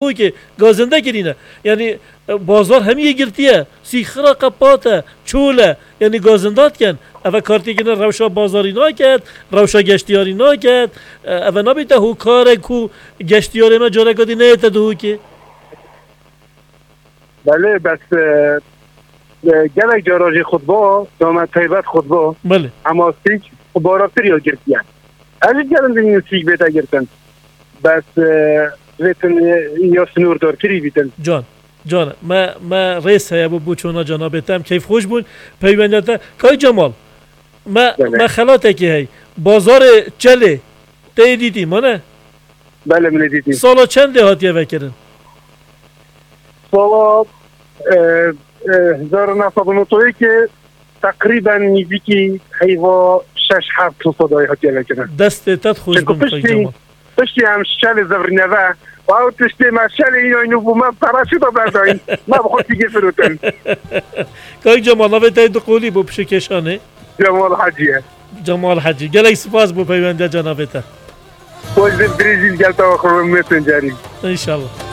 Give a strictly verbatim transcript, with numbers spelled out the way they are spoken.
Hûkê gazinde kirîne. Yanî, e, bazar hemiyê girtiye. Sîxira qepat e, çol e. Yanî gazinda dikin. Eve kartêkine rewşa bazarî naket, rewşa geştiyarî naket. E, eve nabête hûkarek ku geştiyarê me careka dî neyête di hûkê. Belê, bes, e, e, gelek cara jî xutba, dame taybet xutba. Belê. Hema sîk xutba re pir ya girtiye. Ez jî gelim dibînim sîk bête girtin. Bes, e, vêtin, e, ya sinûrdarkirî bîtin. Can, can, me, me rêz heye bo, bo çona cenabê te. Em keyfxweş bûn. Peywendiya te. Kay Cemal, me, Belê. me xelatekî hey. Bazarê Çelê. Te yê dîtî, ma ne? Belê, min ê dîtî. Sala çendê hatiye vekirin? Sala, e, e, hezar û neh sed û nod û yekê teqrîben nîzîkî heyva şeş heft sed hatiye vekirin. Destê te xweş Çimku bin, Kay piştî, Cemal. Piştî em şelê zevrîne ve, û ew tiştê me şelê îna nû bû me pere çi da berdayîn. Me bi xwe tîgê firotin. Kay Cemal, navê te yê du qolî bo pişekeşanê? Cemal Hecî ye. Cemal Hecî. Gelek spas bo peywendiya cenabê te. Xweş bi Brezîl gel te xwe Messengerî. İnşallah.